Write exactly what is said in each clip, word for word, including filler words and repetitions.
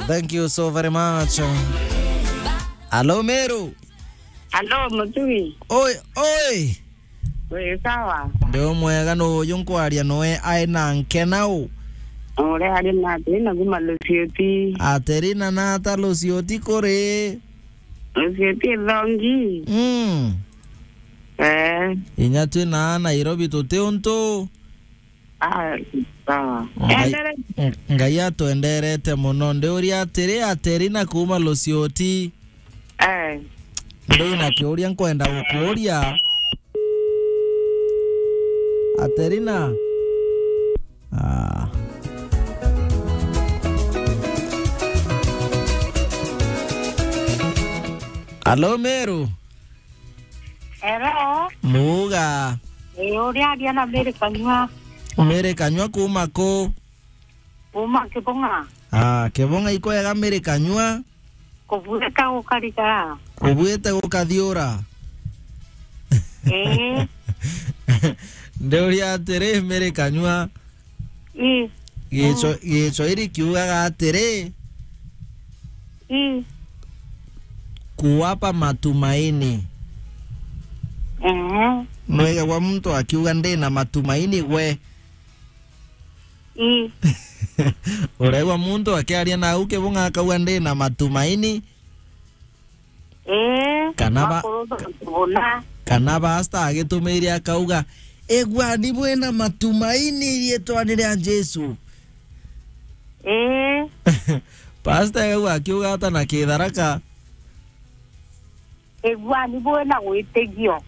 Thank you so very much. Hello, Meru. Hello, Mutui. Oi, oi. Wi sawa? Ndi umwega, nu uyu nkwaria noe ai na nkenau? Uria ari na Aterina kuma Lusioti. Aterina, nata Lusioti kuri? Lusioti ithongi. Mm. Eh. Inya twi na Nairobi tuti untu. Ah, sawa. Ngai, Endere. Ngai atwenderete muno. Ndiuria atiri, Aterina kuma Lusioti. Eh. Ndina kiuria nkwenda gukuria. Aterina. Ah. Alo, Meru. Hello. Muga. Ii, uriaria na Mary Kanyua. Mary Kanyua kuma ku? Kuma Kibung'a. Ah, Kibung'a ikwega Mary Kanyua? Kubuite gukarigara. Kubuite gukathiura. Ii. Ndiuria atiri, Mary Kanyua. Ii. Gicho-, Gichwairi kiugaga atiri, ii, kuwapa matumaini. Ehe. Nwegagwa muntu akiuga, "Ndi na matumaini gwe." Ii. Uraigua muntu akiaria nau Kibung'a akauga, "Ndi na matumaini." Ii, kana ba-, bakuru ba-, buna. Kana pastor agitumiire akauga, "Iguani bwina matumaini riitwani ria Jesu." Ii. Pastor akauga akiuga ata na Kitharaka? Iguani bwina gwitigio.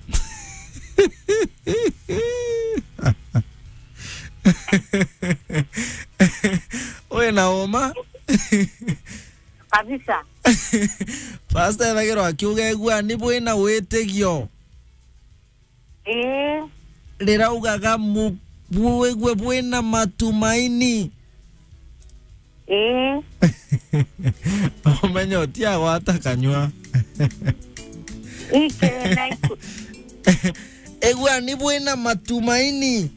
Wina uma? Kabisa. Pastor ethagirwa akiuga, "Iguani bwina witigio." Ii. Riraugaga mu-, bwigue bwina matumaini. Ii. Umenye utiagwata kanyua. Ike na iku- Iguani bwina matumaini.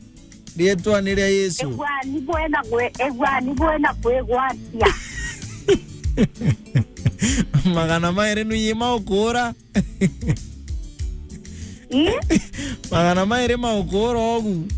Riitwani ria Yesu. Iguani bwina gwi-, iguani bwina kwigwatia. Magana mairi nu yima ukuura. Ii? Magana mairi ma ukuura ugu.